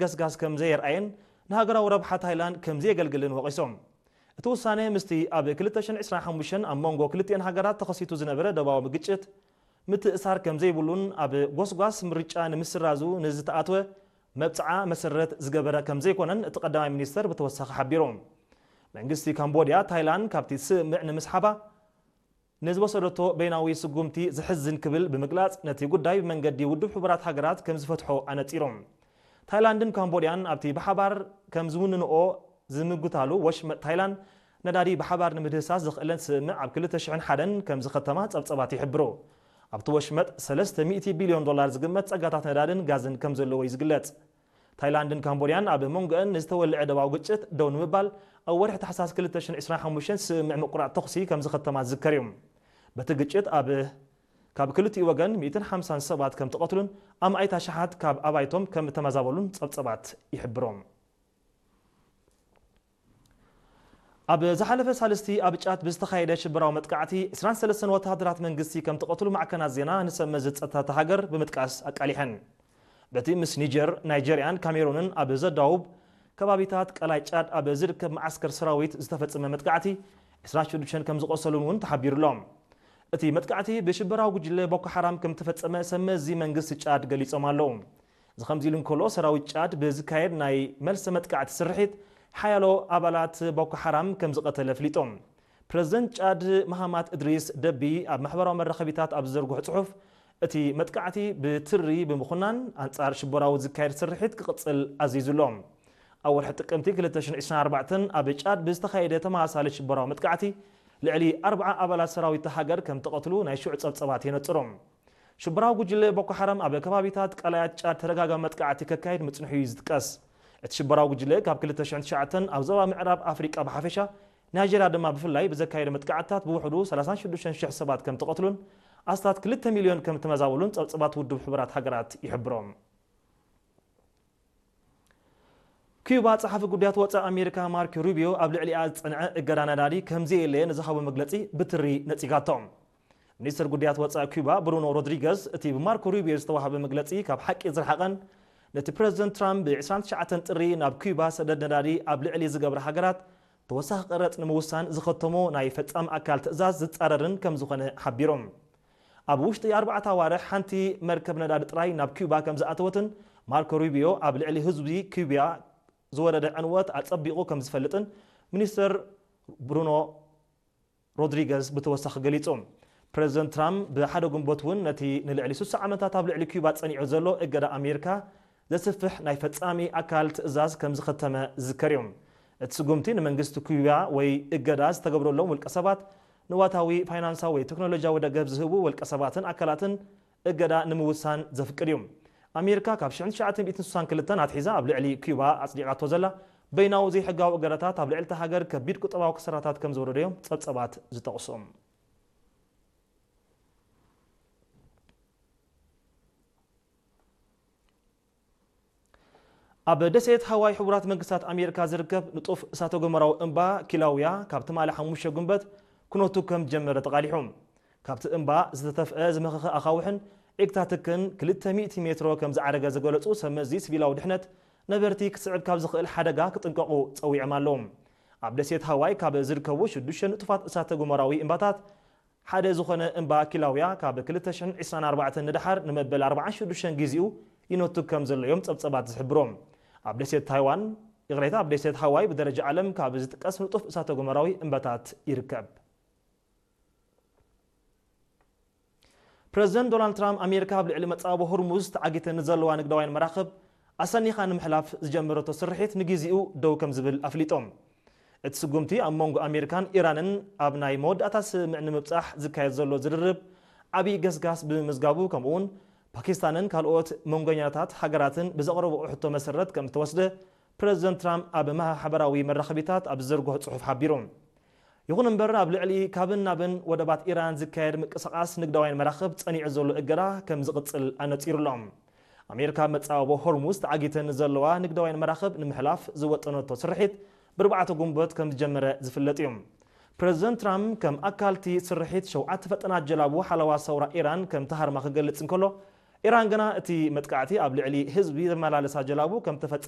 ገስጋስ ከም ዘየርኣየን ንሃገራዊ ረብሓ ታይላንድ ከም ዘየገልግልን ወቒሶም። እቲ ውሳነ ምስቲ ኣብ ክልተ ሽሕን ዕስራን ሓሙሽተን ኣብ መንጎ ክልቲኤን ሃገራት ተኸሲቱ ዝነበረ ደባዊ ግጭት ምትእሳር ከም ዘይብሉን ኣብ ጎስጓስ ምርጫ ንምስራዙ ንዝተኣትወ መብጽዓ መሰረት ዝገበረ ከም ዘይኮነን እቲ ቀዳማይ ሚኒስተር ብተወሳኺ ሓቢሩ። መንግስቲ ካምቦድያ ታይላንድ ካብቲ ስምምዕ ንምስሓባ ንዝወሰደቶ በይናዊ ስጉምቲ ዘሕዝን ክብል ብምግላጽ፣ ነቲ ጉዳይ ብመንገዲ ውድብ ሕቡራት ሃገራት ከም ዝፈትሖ ኣነጺሩ። ታይላንድን ካምቦድያን ኣብቲ ብሓባር ከም ዝውንንኦ ዝምጉታሉ ወሽመጥ ታይላንድ ነዳዲ ብሓባር ንምህዳስ ዘኽእለን ስምምዕ ኣብ ክልተ ሽሕን ሓደን ከም ዝኸተማ ጸብጸባት ይሕብሩ። ኣብቲ ወሽመጥ ሰለስተ ሚእቲ ቢልዮን ዶላር ዝግመት ጸጋታት ነዳድን ጋዝን ከም ዘለዎ እዩ ዝግለጽ። ታይላንድን ካምቦድያን ኣብ መንጎአን ንዝተወልዐ ደባዊ ግጭት ደው ንምባል ኣብ ወርሒ ታሕሳስ ክልተ ሽሕን ዕስራን ሓሙሽተን ስምምዕ ምቁራጽ ተኹሲ ከም ዝኸተማ ዝዝከር እዩ። በቲ ግጭት ኣብ ካብ ክልቲኡ ወገን ሚእትን ሓምሳን ሰባት ከም ተቐትሉን ኣማኢት ኣሽሓት ካብ ኣባይቶም ከም እተመዛበሉን ጸብጸባት ይሕብሩ። ኣብ ዝሓለፈ ሳልስቲ ኣብ ጫድ ብዝተኻየደ ሽበራዊ መጥቃዕቲ ዕስራን ሰለስተን ወተሃደራት መንግስቲ ከም ተቐትሉ ማዕከናት ዜና ንሰብ መዚ ጸጥታ እታ ሃገር ብምጥቃስ ኣቃሊሐን። በቲ ምስ ኒጀር፣ ናይጀርያን ካሜሩንን ኣብ ዘዳውብ ከባቢታት ቀላይ ጫድ ኣብ ዝርከብ መዓስከር ሰራዊት ዝተፈጸመ መጥቃዕቲ ዕስራን ሽዱሽተን ከም ዝቖሰሉን እውን ተሓቢሩ ኣሎ። እቲ መጥቃዕቲ ብሽበራዊ ጉጅለ ቦኮ ሓራም ከም ተፈጸመ ሰብ መዚ መንግስቲ ጫድ ገሊጾም ኣለዉ። እዚ ከምዚ ኢሉ እንከሎ፣ ሰራዊት ጫድ ብዝካየድ ናይ መልሰ መጥቃዕቲ ስርሒት ሓያሎ ኣባላት ቦኮ ሓራም ከም ዝቐተለ ኣፍሊጦም። ፕረዚደንት ጫድ መሃማት እድሪስ ደቢ ኣብ ማሕበራዊ መራኸቢታት ኣብ ዝዘርግሖ ጽሑፍ፣ እቲ መጥቃዕቲ ብትሪ ብምኹናን ኣንጻር ሽበራዊ ዝካየድ ስርሒት ክቕጽል ኣዚዙ ኣሎ። ኣብ ወርሒ ጥቅምቲ ክልተ ሽሕን ዕስራን ኣርባዕተን ኣብ ጫድ ብዝተኻየደ ተመሳሳሊ ሽበራዊ መጥቃዕቲ ልዕሊ ኣርብዓ ኣባላት ሰራዊት እታ ሃገር ከም ተቐትሉ ናይ ሽዑ ጸብጸባት የነጽሩ። ሽበራዊ ጉጅለ ቦኮ ሓራም ኣብ ከባቢታት ቀላያት ጫድ ተደጋጋሚ መጥቃዕቲ ከካይድ ምጽንሑ እዩ ዝጥቀስ። እቲ ሽበራዊ ጉጅለ ካብ ክልተ ሽሕን ትሽዓተን ኣብ ዞባ ምዕራብ ኣፍሪቃ ብሓፈሻ፣ ናይጀርያ ድማ ብፍላይ ብዘካየደ መጥቃዕትታት ብውሕዱ ሰላሳን ሽዱሽተን ሽሕ ሰባት ከም ተቐትሉን ኣስታት ክልተ ሚልዮን ከም ተመዛበሉን ጸብጸባት ውድብ ሕቡራት ሃገራት ይሕብሮም። ኪዩባ ጸሓፊ ጉዳያት ወጻኢ ኣሜሪካ ማርክ ሩቢዮ ኣብ ልዕሊኣ ዝጸንዐ እገዳ ነዳዲ ከም ዘየለየ ንዝሃቦ መግለጺ ብትሪ ነጺጋቶ። ሚኒስትር ጉዳያት ወጻኢ ኪዩባ ብሩኖ ሮድሪገዝ፣ እቲ ብማርኮ ሩቢዮ ዝተዋህበ መግለጺ ካብ ሓቂ ዝረሓቐን ነቲ ፕረዚደንት ትራምፕ ብ ዕስራን ትሽዓተን ጥሪ ናብ ኪዩባ ሰደድ ነዳዲ ኣብ ልዕሊ ዝገብራ ሃገራት ተወሳኺ ቀረጽ ንምውሳን ዝኸተሞ ናይ ፈጻሚ ኣካል ትእዛዝ ዝጻረርን ከም ዝኾነ ሓቢሮም። ኣብ ውሽጢ ኣርባዕተ ኣዋርሕ ሓንቲ መርከብ ነዳዲ ጥራይ ናብ ኪዩባ ከም ዝኣተወትን ማርኮ ሩቢዮ ኣብ ልዕሊ ህዝቢ ኪዩባ ዝወረደ ዕንወት ኣጸቢቑ ከም ዝፈልጥን ሚኒስተር ብሩኖ ሮድሪገዝ ብተወሳኺ ገሊጹ። ፕረዚደንት ትራምፕ ብሓደ ግንቦት እውን ነቲ ንልዕሊ ስሳ ዓመታት ኣብ ልዕሊ ኪዩባ ጸኒዑ ዘሎ እገዳ ኣሜሪካ ዘስፍሕ ናይ ፈጻሚ ኣካል ትእዛዝ ከም ዝኸተመ ዝዝከር እዩ። እቲ ስጉምቲ ንመንግስቲ ኪዩባ ወይ እገዳ ዝተገብረሎም ውልቀ ሰባት፣ ንዋታዊ፣ ፋይናንሳዊ ወይ ቴክኖሎጂያዊ ደገፍ ዝህቡ ውልቀ ሰባትን ኣካላትን እገዳ ንምውሳን ዘፍቅድ እዩ። ኣሜሪካ ካብ ሽሕን ትሽዓተ ሚእትን ስሳን ክልተን ኣትሒዛ ኣብ ልዕሊ ኪዩባ ኣጽዲቓቶ ዘላ በይናዊ ዘይሕጋዊ እገዳታት ኣብ ልዕሊ እታ ሃገር ከቢድ ቁጠባዊ ክሳራታት ከም ዘውረዶ እዮም ጸብጸባት ዝጠቕሱ። ኣብ ደሴት ሃዋይ ሕቡራት መንግስታት ኣሜሪካ ዝርከብ ንጡፍ እሳተ ጎመራዊ እምባ ኪላውያ ካብ ትማሊ ሓሙሽተ ግንቦት ኩነቱ ከም ዝጀመረ ተቓሊሑ። ካብቲ እምባ ዝተተፍአ ዝመኸኸ ኣኻውሕን ዒግታትክን ክልተ ሚእቲ ሜትሮ ከም ዝዓረገ ዝገለጹ ሰብ መዚ ሲቪላዊ ድሕነት፣ ነበርቲ ክስዕብ ካብ ዝኽእል ሓደጋ ክጥንቀቑ ጸዊዖም ኣለዉ። ኣብ ደሴት ሃዋይ ካብ ዝርከቡ ሽዱሽተ ንጡፋት እሳተ ጎመራዊ እምባታት ሓደ ዝኾነ እምባ ኪላውያ ካብ ክልተ ሽሕን ዕስራን ኣርባዕተን ንደሓር ንመበል ኣርባዓን ሽዱሽተን ግዜኡ ይነቱ ከም ዘሎ እዮም ጸብጸባት ዝሕብሩ። ኣብ ደሴት ታይዋን፣ ይቕሬታ፣ ኣብ ደሴት ሃዋይ ብደረጃ ዓለም ካብ ዝጥቀስ ንጡፍ እሳተ ጎመራዊ እምባታት ይርከብ። ፕረዚደንት ዶናልድ ትራምፕ፣ ኣሜሪካ ኣብ ልዕሊ መጻወቦ ሆርሙዝ ተዓጊተን ንዘለዋ ንግዳውያን መራኽብ ኣሰኒኻ ንምሕላፍ ዝጀመረቶ ስርሒት ንግዜኡ ደው ከም ዝብል ኣፍሊጦም። እቲ ስጉምቲ ኣብ መንጎ ኣሜሪካን ኢራንን ኣብ ናይ መወዳእታ ስምምዕ ንምብጻሕ ዝካየድ ዘሎ ዝርርብ ዓብዪ ገስጋስ ብምምዝጋቡ፣ ከምኡውን ፓኪስታንን ካልኦት መንጎኛታት ሃገራትን ብዘቕረብኦ ሕቶ መሰረት ከም ዝተወስደ ፕረዚደንት ትራምፕ ኣብ ማሕበራዊ መራኸቢታት ኣብ ዝዘርግሖ ጽሑፍ ሓቢሩ። ይኹን እምበር፣ ኣብ ልዕሊ ካብን ናብን ወደባት ኢራን ዝካየድ ምንቅስቓስ ንግዳውያን መራኽብ ጸኒዑ ዘሎ እገዳ ከም ዝቕጽል ኣነጺሩ ኣሎ። ኣሜሪካ መጻወቦ ሆርሙዝ ተዓጊተን ዘለዋ ንግዳውያን መራኽብ ንምሕላፍ ዝወጠነቶ ስርሒት ብርባዕተ ግንቦት ከም ዝጀመረ ዝፍለጥ እዩ። ፕረዚደንት ትራምፕ ከም ኣካልቲ ስርሒት ሸውዓተ ፈጠናት ጀላቡ ሓለዋ ሰውራ ኢራን ከም ተሃርማ ክገልጽ እንከሎ፣ ኢራን ግና እቲ መጥቃዕቲ ኣብ ልዕሊ ህዝቢ ዘመላለሳ ጀላቡ ከም ተፈጸመ